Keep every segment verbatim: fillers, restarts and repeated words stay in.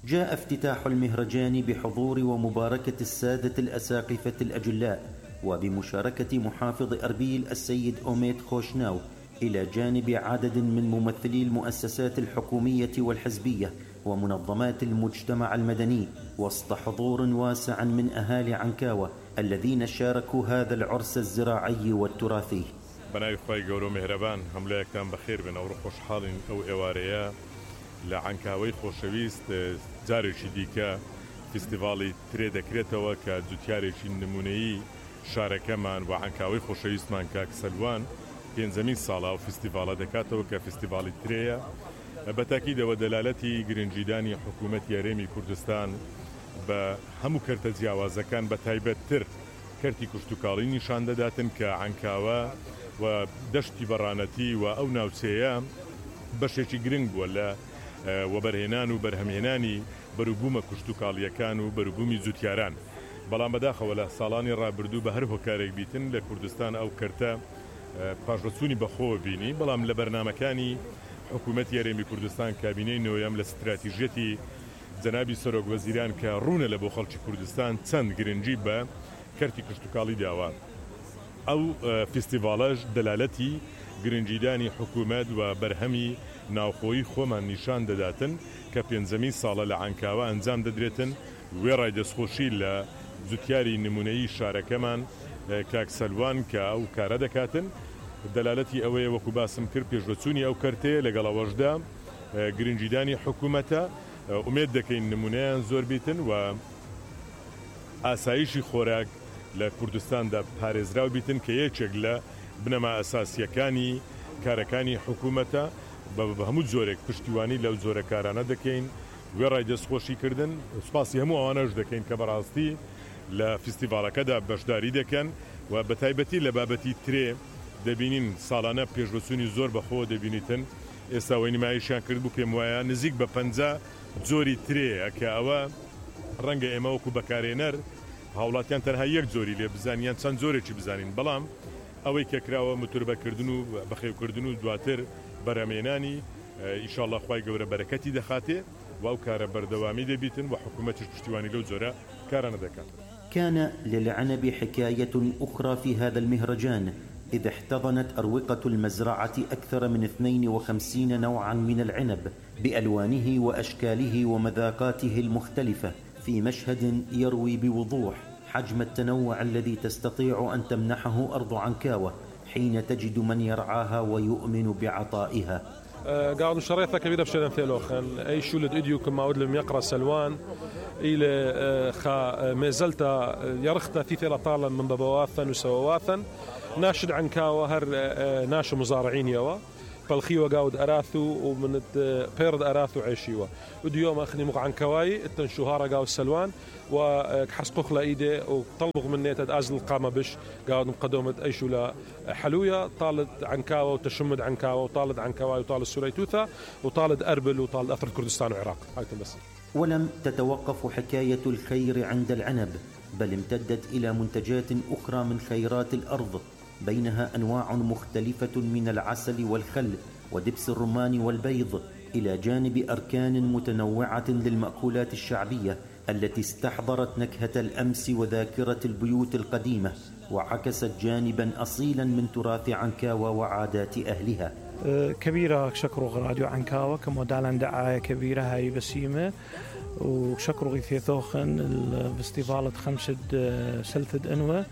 جاء افتتاح المهرجان بحضور ومباركة السادة الأساقفة الأجلاء وبمشاركة محافظ أربيل السيد أوميد خوشناو، إلى جانب عدد من ممثلي المؤسسات الحكومية والحزبية ومنظمات المجتمع المدني، وسط حضور واسع من أهالي عنكاوة الذين شاركوا هذا العرس الزراعي والتراثي. بناي خوي قولوا مهربان هم لا يكتم بخير بنا وروح خوشحال أو إواريا لعنكاوي خوشويست جاري شديكا فيستيفالي تريدا كريتوا كزوتياري نموني شاركمان وعنكاوي خوشويست مان كاك سلوان بين زمين صالة وفيستيفالا دكاتو كفيستيفالي تريا بتأكيد ودلالتي جرنجيداني حكومة ياريمي كردستان بهمو كرت جیاوازەکان بە تایبەتتر کەرتی کشتوکاڵی نیشان دەداتن کە عنکاوە و دەشتی بەڕانەتی و ئەو ناوچەیە بەشێکی گرنگ بووە لە وەبەرهێنان و بەرهەمهێنانی بەروبوومە کشتوکاڵیەکان و بەروبوومی جوتیاران. بەڵام بەداخەوە لە ساڵانی ڕابردوو بە هەر هۆکارێک بیتن لە کوردستان ئەو کەرتە پاشڕەچوونی بەخۆوە بینی، بەڵام لە بەرنامەکانی حکوومەت یارێمی کوردستان کابینەی نوێیەم لە استراتیژیەتی جەنابی سەرۆک وەزیران کە ڕوونە لە بۆ خەڵکی کوردستان چەند گرنگی بە کەرتی کشتوکاڵی داوە. ئەو فستیڤالەش دەلالەتی گرنگیدانی حکوومەت و بەرهەمی ناوخۆیی خۆمان نیشان دەداتن کە پێنجەمین ساڵە لە عنکاوە ئەنجام دەدرێتن. وێڕای دەستخۆشی لە جوتیاری نمونەیی شارەکەمان کاک سەلوان کە ئەو کارە دەکاتن، دەلالەتی ئەوەیە وەکو باسم کرد پێشڕەچوونی ئەو کەرتەیە لەگەڵەوەشدا گرنگیدانی حکوومەتە. ئومێد دەکەین نمونەیان زۆر بیتن و ئاسایشی خۆراک لە کوردستاندا پارێزراو بیتن کە یەکێک لە بنەما ئەساسیەکانی کارەکانی حکوومەتە. بە هەموو جۆرێک پشتیوانی لەو جۆرە کارانە دەکەین، وێڕای دەستخۆشی کردن. سوپاسی هەموو ئەوانەش دەکەین کە بەڕاستی لە فستیڤالەکەدا بەشداری دەکەن و بە تایبەتی لە بابەتی ترێ دەبینین ساڵانە پێشبەچوونی زۆر بەخۆ دەبینیتن. ئێستا وەی نمایشیان کرد بوو پێم وایە نزیک بە پەنجا جۆری ترەیە کە ئەوە ڕەنگە ئێمە وەکو بەکارێنەر هاوڵاتیان تەنها یەک جۆری لێ بزانیان چەند جۆرێکی بزانین، بەڵام ئەوەی کە کراوە متوربەکردن و بەخێوکردن و دواتر بەرەمێنانی ئینشاءالله خوای گەورە بەرەکەتی دەخاتێ و ئەو کارە بەردەوامی دەبیتن و حکوومەتیش پشتیوانی لەو جۆرە کارانە دەکات. كان للعنب حكاية أخرى في هذا المهرجان، إذ احتضنت أروقة المزرعة أكثر من اثنين وخمسين نوعا من العنب بألوانه وأشكاله ومذاقاته المختلفة، في مشهد يروي بوضوح حجم التنوع الذي تستطيع أن تمنحه أرض عنكاوة حين تجد من يرعاها ويؤمن بعطائها. قاعد شريطة كبيرة بشيء ثلاثة أي شولد إديو كما أود لم يقرأ سلوان إلى خا مازلت يرخت في ثلاثة من بابواثا وسواواثا ناشد عنكاوة هر ناش مزارعين يوا فالخيوة قاود أراثو ومن بيرد أراثو عيشيوا وديوم أخني مق عنكواي التنشوهارة قاود سلوان وحسقوخ لإيدي وطلبوا من نيتد أزل القامة بش قاود مقدومة أيشولا حلوية طالد عنكاوة وتشمد عنكاوة وطالد عنكواي وطالد سوريتوثا وطالد أربل وطالد أثر كردستان وعراق. هايتم بس. ولم تتوقف حكاية الخير عند العنب، بل امتدت إلى منتجات أخرى من خيرات الأرض، بينها أنواع مختلفة من العسل والخل ودبس الرمان والبيض، إلى جانب أركان متنوعة للمأكولات الشعبية التي استحضرت نكهة الأمس وذاكرة البيوت القديمة، وعكست جانبا أصيلا من تراث عنكاوة وعادات أهلها. كبيرة شكروا راديو عنكاوة كمودالا دعاية كبيرة هاي بسيمة، وشكروا غيثي ثوخن الفستيفالة خمسة سلثد أنوة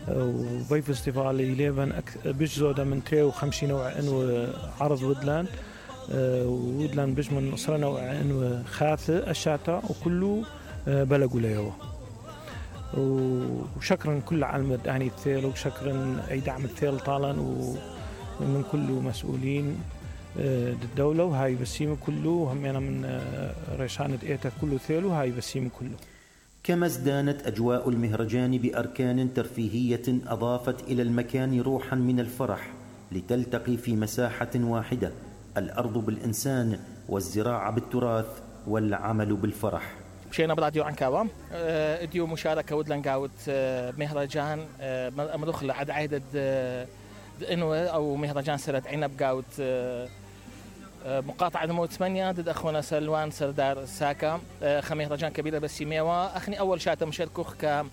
وبي فستيفال يليبن بجزودة من تري وخمسين نوع أنوة عرض ودلان ودلان بج من صار نوع أنوة خاثة الشاتا وكله بلغوا ليوا. وشكرا كل عالم يعني الثيل وشكرا أي دعم الثيل طالا ومن كل مسؤولين الدولة وهاي بسيمة كله هم أنا من ريشانة إيتا كله ثيل وهاي بسيمة كله. كما ازدانت أجواء المهرجان بأركان ترفيهية أضافت إلى المكان روحا من الفرح، لتلتقي في مساحة واحدة الأرض بالإنسان والزراعة بالتراث والعمل بالفرح. مشينا براديو عنكاوة اديو مشاركة ودلن قاوت مهرجان مدخل عد عدد انو او مهرجان سرت عنب قاوت مقاطعة نمو ثمانية ضد أخونا سلوان سردار ساكا خمهرجان كبيرة بسيميوا أخني أول شاتا مشاركوخ ك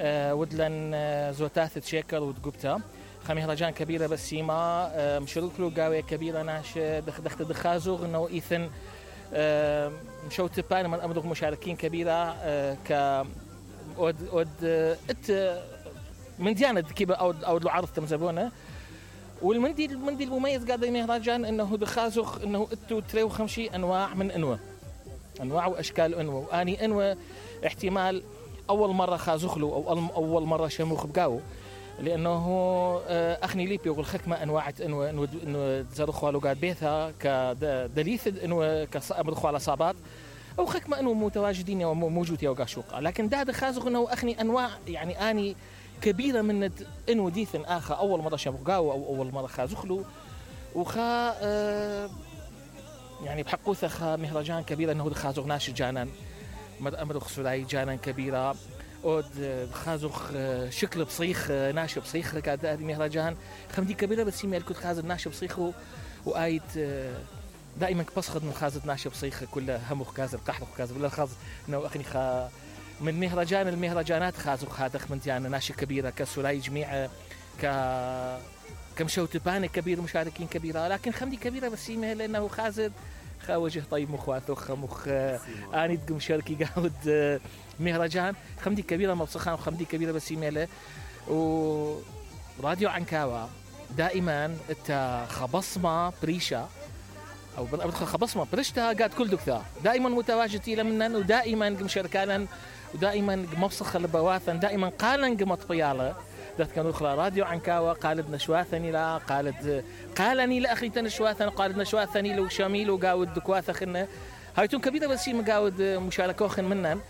ودلن زوتاث تشيكر ودقبتا خمهرجان كبيرة بسيما مشارك له قاوية كبيرة ناش دخ دخت دخازوغ إنه إيثن مشو تبان من أمدوغ مشاركين كبيرة ك ود ود ات من ديانة كيبا أو أو العرض تمزبونه والمندي المندي المميز قاعد مهرجان انه دخازخ انه اتو تريو خمشي انواع من انوه انواع واشكال انوه واني انوه احتمال اول مره خازخلو او اول مره شموخ بقاو لانه اخني ليبي يقول خكمه انواع انوه انه تزرخوا له قاعد بيتها كدليث انوه كامرخوا على صابات او خكمه انه متواجدين وموجود يا وقاشوقه لكن دا دخازخ انه اخني انواع يعني اني كبيرة من إنو ديثن آخر أول مرة شبقاو أو أول مرة خازخلو وخا آه يعني بحقوثة خا مهرجان كبيرة إنه خازوغ ناش جانان مر أمر خسولاي جانان كبيرة أود خازوغ شكل بصيخ ناش بصيخ كاد هذه مهرجان خمدي كبيرة بس يميل كنت خازر ناش بصيخه وآيت آه دائما بصخد من خازر ناش بصيخ كله همخ كازر قحر كازر ولا خاز إنه أخني خا من مهرجان المهرجانات خازوخ هذا من ديانا ناشي كبيرة كسولاي جميع ك كمشوتبان كبير مشاركين كبيرة لكن خمدي كبيرة بس يمه لأنه خازر خاوجه طيب مخواثو خمخ آني تقوم شاركي قاود مهرجان خمدي كبيرة مبصخان وخمدي كبيرة بس يمه وراديو عنكاوة دائما التا خبصمة بريشة أو بدخل خبصمة برشتها قاعد كل دكتور دائما متواجدين لمنن ودائما مشاركانا ودائما مبصخ البواثن دائما قالن قمط طيالة ذات كانوا أخرى راديو عنكاوة قالت نشواثني لا قالت قالني لا أخي تنشواثن قالت نشواثني لو شاميل وقاود دكواثة خنة هايتون كبيرة بس مقاود مشاركوخن منن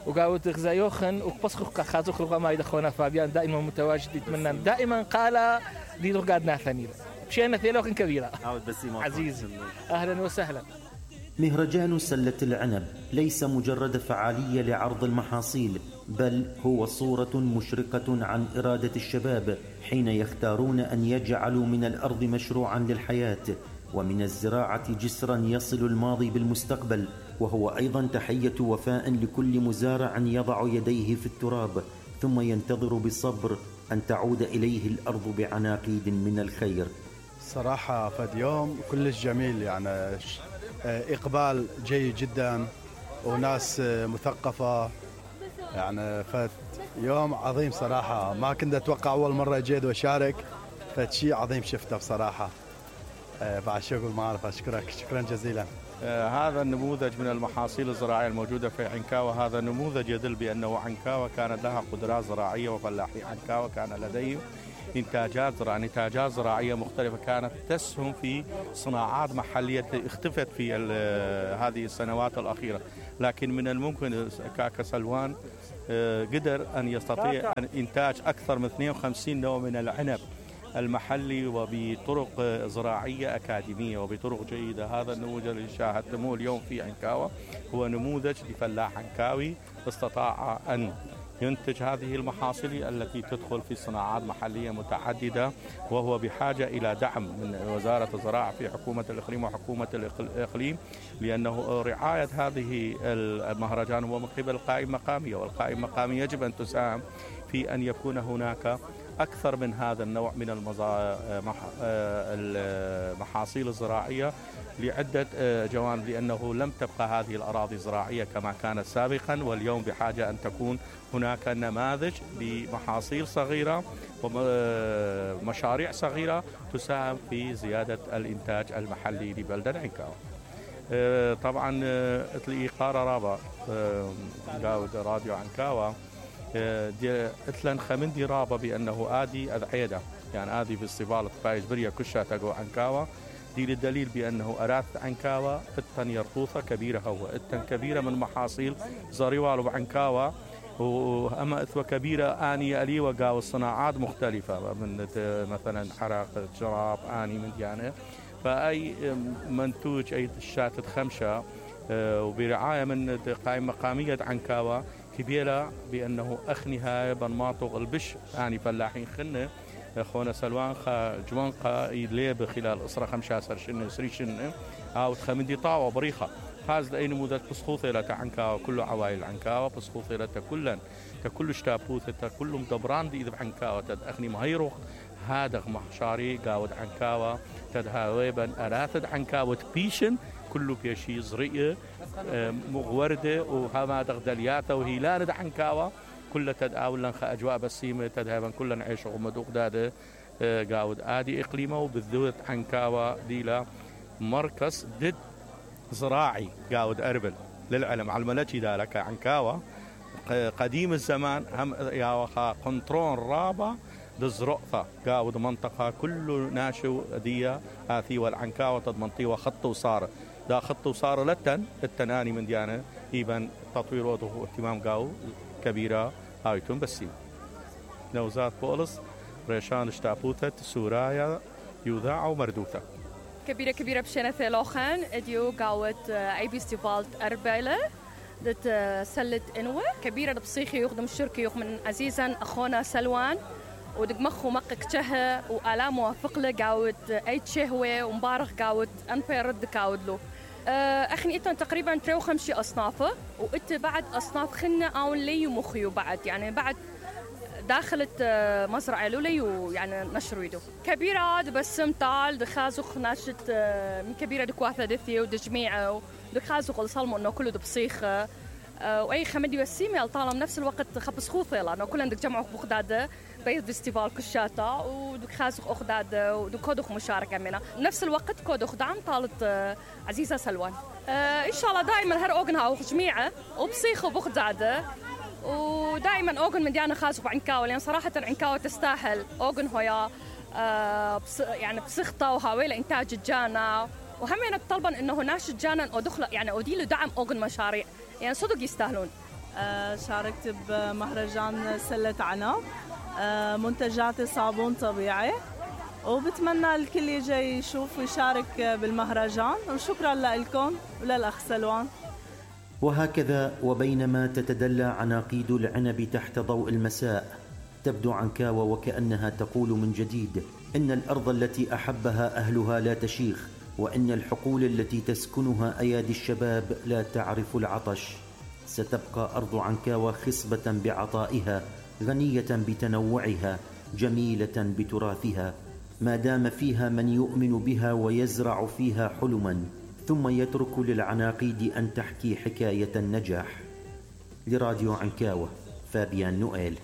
وقاود غزايوخن وبصخ خازوخ رغما يدخونا فابيان دائما متواجد منن دائما قال دي قاعد ناثني مشينا ثيلوخن كبيرة عزيز أهلا وسهلا. مهرجان سلة العنب ليس مجرد فعالية لعرض المحاصيل بل هو صورة مشرقة عن إرادة الشباب حين يختارون أن يجعلوا من الأرض مشروعا للحياة ومن الزراعة جسرا يصل الماضي بالمستقبل وهو أيضا تحية وفاء لكل مزارع يضع يديه في التراب ثم ينتظر بصبر أن تعود إليه الأرض بعناقيد من الخير. صراحة فد يوم كلش جميل يعني إقبال جيد جدا وناس مثقفة يعني فد يوم عظيم صراحة ما كنت أتوقع أول مرة جيد وشارك فد شيء عظيم شفته بصراحة بعد شغل ما أعرف أشكرك شكرا جزيلا. هذا النموذج من المحاصيل الزراعية الموجودة في عنكاوة هذا نموذج يدل بأنه عنكاوة كانت لها قدرات زراعية وفلاحي عنكاوة كان لديهم إنتاجات زراعية إنتاجات زراعية مختلفة كانت تسهم في صناعات محلية اختفت في هذه السنوات الأخيرة لكن من الممكن كاكا سلوان قدر أن يستطيع أن إنتاج أكثر من اثنين وخمسين نوع من العنب المحلي وبطرق زراعية أكاديمية وبطرق جيدة. هذا النموذج اللي شاهدتموه اليوم في عنكاوة هو نموذج لفلاح عنكاوي استطاع أن ينتج هذه المحاصيل التي تدخل في صناعات محلية متعددة وهو بحاجة إلى دعم من وزارة الزراعة في حكومة الإقليم وحكومة الإقليم لأنه رعاية هذه المهرجان هو من قبل القائمة المقامية والقائمة المقامية يجب أن تساهم في أن يكون هناك أكثر من هذا النوع من المحاصيل الزراعية لعدة جوانب لأنه لم تبقى هذه الأراضي الزراعية كما كانت سابقا واليوم بحاجة أن تكون هناك نماذج لمحاصيل صغيرة ومشاريع صغيرة تساهم في زيادة الإنتاج المحلي لبلدة عنكاوة. طبعا اتلي قارة رابا قاود راديو عنكاوة اتلن خمندي رابا بأنه آدي أذعيدة يعني آدي فيستيفال فايز بريا كشة تقو عنكاوة دي للدليل بأنه أراث عنكاوة اتن يرطوثة كبيرة هو اتن كبيرة من محاصيل زريوال وعنكاوة وأما إثوة كبيرة آني ألي وقاو الصناعات مختلفة من مثلا حرق جراب آني من ديانة فأي منتوج أي شاتة خمشة وبرعاية من قائمة مقامية عنكاوة كبيرة بأنه أخنها بنماطق البش آني فلاحين خنة خونا سلوان خا جوان قا يليب خلال أسرة خمسة عشر شن سريشن أو تخمدي طاوة بريخة هذا أي نموذج بسخوثة لا عنكاوة كله عوائل عنكاوة بسخوثة لا كلن ككل شتابوثة كلهم دبران دي إذا عنكاوة تد أخني مهيروخ هذا محشاري قاود عنكاوة تد هاويبا أراتد عنكاوة بيشن كله بيشي زرية مغوردة وهما دغدلياته وهيلان عنكاوة كل تد أولا خا أجواء بسيمة تدهبا كلنا نعيش ومدوق داده قاود آدي إقليمه وبالذات عنكاوة ديلا مركز دد زراعي قاود أربل للعلم على الملكي ذلك عنكاوة قديم الزمان هم يا وخا قنطرون رابع دزرقثة قاود منطقة كله ناشو ديا هاثي والعنكاوة تد منطقة خط وصار دا خط وصار لتن التناني من ديانة إيبان تطوير وضوه اهتمام قاو كبيرة هايتون بسيم نوزات بولس ريشان اشتابوتة سورايا يوذاع ومردوثة كبيرة كبيرة بشينة ثلاخن اديو قاوت اي بيستيفالت أربعلة دت سلة انوة كبيرة بصيخي يخدم الشركة يخ من عزيزا اخونا سلوان ودق مخو مقك شه وآلام موافق له قاوت اي تشهوة ومبارخ قاوت انفي رد قاود له اخني اتن تقريبا تريو خمشي اصنافه وات بعد اصناف خنة او لي ومخيو بعد يعني بعد داخلت مزرعة لولي ويعني نشر ويدو كبيرة بسم طال دخازوخ ناشت من كبيرة دكواثة دثية ودجميعة ودخازوخ الصلمو انه كله دبصيخة واي خمدي وسيمي الطالم نفس الوقت خبص خوثة لانه كلهم دك جمعوا بغداد بيت فيستيفال كشاتا ودخازوخ اخداد ودكودوخ مشاركة منا نفس الوقت كودوخ دعم طالت عزيزة سلوان ان شاء الله دائما هر اوغنها وجميعة وبصيخة وبغداد ودائما اوغن من ديانا خاصة بعنكاوة لان صراحة عنكاوة تستاهل اوغن هويا آه بص يعني بصيخته وهاويل انتاج الجانا وهم يعني طلبا انه ناش الجانا او دخل يعني اوديله دعم اوغن مشاريع يعني صدق يستاهلون. آه شاركت بمهرجان سلة عنب آه منتجاتي صابون طبيعي وبتمنى الكل يجي يشوف ويشارك بالمهرجان وشكرا لكم وللأخ سلوان. وهكذا وبينما تتدلى عناقيد العنب تحت ضوء المساء تبدو عنكاوة وكأنها تقول من جديد إن الأرض التي أحبها أهلها لا تشيخ وإن الحقول التي تسكنها أيادي الشباب لا تعرف العطش. ستبقى أرض عنكاوة خصبة بعطائها غنية بتنوعها جميلة بتراثها ما دام فيها من يؤمن بها ويزرع فيها حلما ثم يترك للعناقيد أن تحكي حكاية النجاح. لراديو عنكاوة فابيان نوئيل.